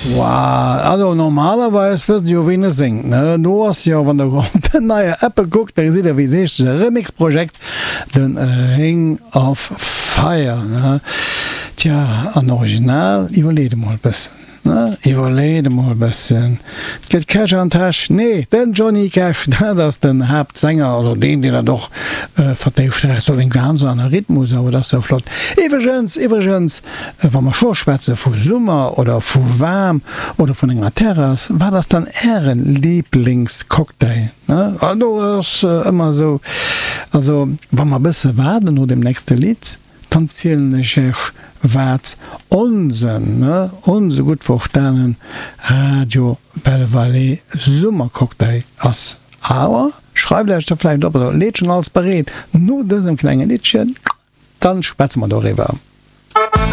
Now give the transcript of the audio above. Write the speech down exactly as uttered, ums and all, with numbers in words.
Wow, also normalerweis wësst Dir jo ween e séngt, ne? Do ass jo, wann der op den neie Eppe kuckt, da gesitt der wéi se heescht, de Remix-Projekt, de Ring of Fire, ne? Tja, an Original, iwwerleet emol e bëssen. Ne, iwwerleet emol e bëssen. Et gëtt Cash an Täsch. Nee, den Johnny Cash, dat ass den Haaptsänger, oder deen, deen dat och vertéischt. Dat ass en ganz aner Rhythmus, awer dat ass sou flott. Iwwregens, iwwregens, wa mer scho schwätze vu Summer oder vu waarm oder vun enger Terrass, wat ass dann Äre Liblingscocktail? Ne, do ass ëmmer esou, also wa mer e bësse waarden no deem nächste Lidd, Dann zielen ech Iech wat onsen, onse gutt verstanen Radio Belval Summercocktail ass. Awer schreift Iech dat vläicht op oder leet schon alles bereet no dësem klenge Liddchen, dann schwätze mer doriwwer.